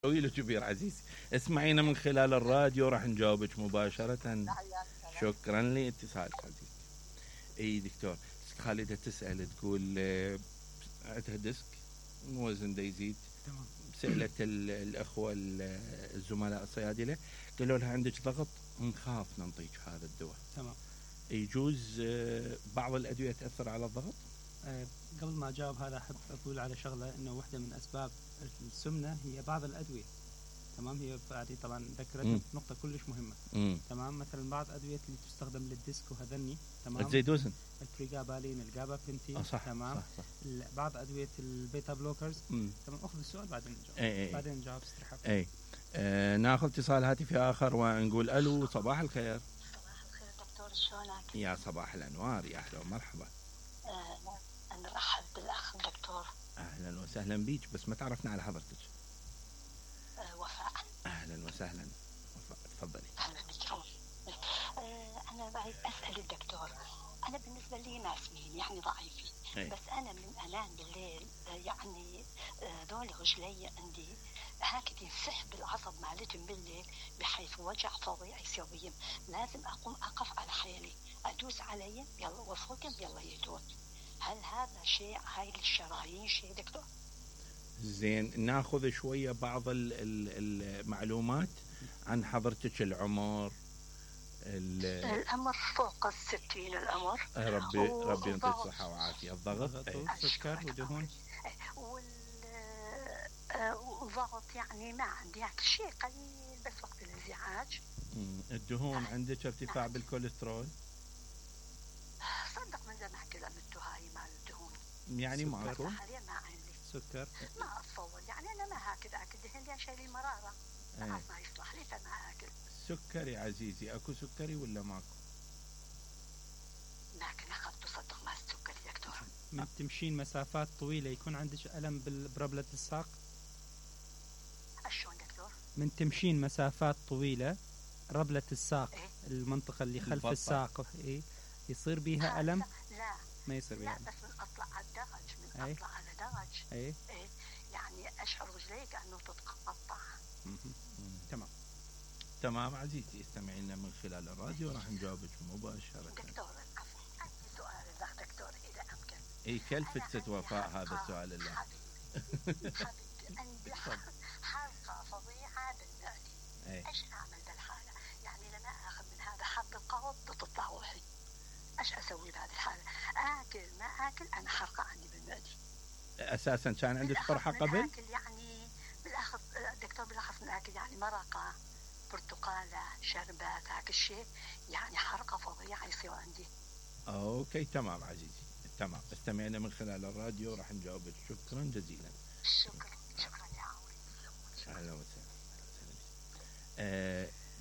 طويل وكبير عزيزي. اسمعينا من خلال الراديو راح نجاوبك مباشرة. شكرا لاتصالك عزيزي. اي دكتور خالدة تسأل تقول عندها ديسك وزن دا يزيد. تمام. سألت الأخوة الزملاء الصيادلة قالوا لها عندك ضغط نخاف ننطيك هذا الدواء. تمام. يجوز بعض الأدوية تأثر على الضغط؟ قبل ما أجاوب هذا أحب أقول على شغلة إنه واحدة من أسباب السمنة هي بعض الأدوية. تمام. هي بعدين طبعا ذكرت نقطة كلش مهمة. تمام. مثلا بعض الأدوية اللي تستخدم للديسك وهذني. تمام. تزيد وزن. البريغابالين، الجابابنتين. صح. تمام. صح. بعض أدوية البيتا بلوكرز. تمام. أخذ السؤال بعدين نجاوب. بعدين نجاوب استرحاب. ناخذ اتصال هاتفي آخر ونقول ألو. صباح الخير. صباح الخير دكتور، شلونك؟ يا صباح الأنوار، يا أهلا ومرحبا. نرحب بالأخ دكتور. أهلا وسهلا بيك، بس ما تعرفنا على حضرتك. وفاء. أهلا وسهلا وفاء، تفضلي. أهلا بك. أنا بعد أسأل الدكتور، أنا بالنسبة لي ناسمين يعني ضعيفين. بس أنا من أنام بالليل يعني ذول رجلي عندي هكذا ينسحب العصب مالتهم بالليل بحيث وجع فظيع يسويهم. لازم أقوم أقف على حيلي أدوس عليهم يلا وفوقهم يلا يدون. هل هذا شيء هاي الشرايين شيء دكتور؟ زين، ناخذ شوية بعض المعلومات عن حضرتك. العمر فوق 60 الأمر. ربي يعطيك الصحة وعافية. الضغط سكر ودهون والضغط يعني ما عندي يعني شيء قليل بس وقت الازعاج. الدهون عندك ارتفاع بالكوليسترول؟ صدق من زمان كلمته هاي مال الدهون يعني ماكو؟ حاليا ما عندي سكر. ما اتصور يعني انا ما هاكل دهن لان شيء المرارة ما يصلح لي فما اكل. سكري عزيزي اكو سكري ولا ماكو؟ لكن اخذته صدق ما السكري دكتور. من تمشين مسافات طويلة يكون عندك ألم بربلة الساق؟ شلون دكتور؟ من تمشين مسافات طويلة ربلة الساق المنطقة اللي خلف الساق يصير بيها ألم؟ لا ما يصير بيها ألم. لا بس من أطلع على الدرج أطلع على درج يعني أشعر رجلي كأنه تتقطع. تمام عزيزتي، استمعينا من خلال الراديو راح نجاوبك مباشرة. دكتور عفوا عندي سؤال الله دكتور إذا أمكن. كلفة ست وفاء هذا السؤال الله. حبيبي عندي حرقة فظيعة بالمعدة. إيش أعمل بالحالة؟ يعني لما أخذ من هذا حب القبض بتطلع روحي. إيش أسوي بهذه الحالة؟ آكل ما آكل أنا حرقة عندي بالمعدة. أساسا كان عندك قرحة قبل؟ آكل يعني بالأخذ الدكتور بالأخذ من آكل يعني مرقة برتقالة شربات هاك الشيء يعني حرقة فظيعة يصير عندي. اوكي تمام عزيزي، تمام. استمعنا من خلال الراديو راح نجاوبك. شكرا جزيلا. شكرا يا عمري. اهلا وسهلا.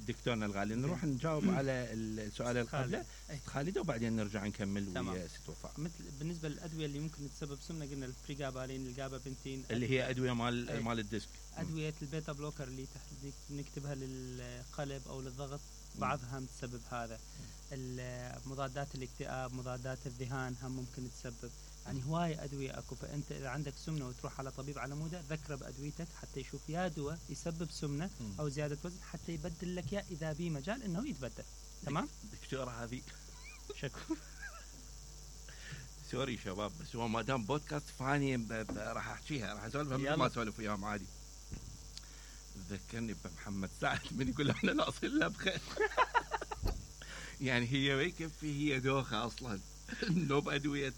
دكتورنا الغالي نروح نجاوب على السؤال القبل خالدة وبعدين نرجع نكمل ويا ست وفاء. مثل بالنسبة للأدوية اللي ممكن تسبب سمنة قلنا البريغابالين، الجابابنتين اللي هي أدوية مال الديسك. أدوية البيتا بلوكر اللي نكتبها للقلب أو للضغط بعضها تسبب هذا. مضادات الاكتئاب، مضادات الذهان هم ممكن تسبب. يعني هواية أدوية أكو. فأنت إذا عندك سمنة وتروح على طبيب على مودة ذكره بأدويتك حتى يشوف يا دواء يسبب سمنة أو زيادة وزن حتى يبدل لك يا إذا بي مجال إنه يتبدل. تمام؟ دكتورة هذه شكرا. سوري شباب بس هو ما دام بودكاست فاني راح أحكيها، راح أسولفها مثل ما أسولف وياهم عادي. ذكرني بمحمد سعد من يقول احنا ناصل له بخير. يعني هي ما يكفي، هي دوخة أصلا نوب أدوية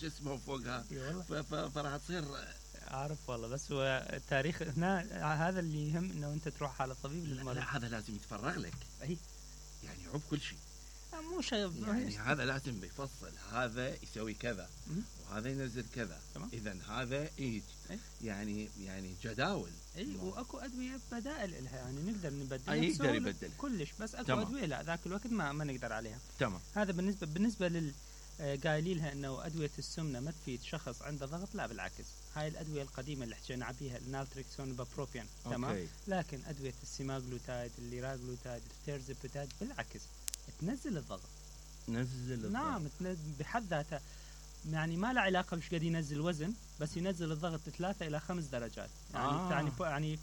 شو اسمه فوقها فراح تصير. أعرف والله، بس هو التاريخ هنا هذا اللي يهم إنه أنت تروح على طبيب للمرض. لا هذا لازم يتفرغ لك. يعني عب كل شيء. مو شيء يعني هذا لازم بيفصل، هذا يسوي كذا وهذا ينزل كذا. إذا هذا يعني جداول. واكو ادويه بدائل لها يعني نقدر نبدل. يقدر يبدل كلش، بس اكو ادويه لا ذاك الوقت ما نقدر عليها. تمام. هذا بالنسبه قايلين لها انه ادويه السمنه ما تفيد شخص عنده ضغط. لا بالعكس، هاي الادويه القديمه اللي حكينا عليها النالتريكسون والبروبيان تمام. لكن ادويه السيماغلوتايد، الليراغلوتايد، التيرزابيتايد بالعكس تنزل الضغط. نعم بحد ذاتها يعني ما له علاقه بش قد ينزل وزن، بس ينزل الضغط 3 إلى 5 درجات. يعني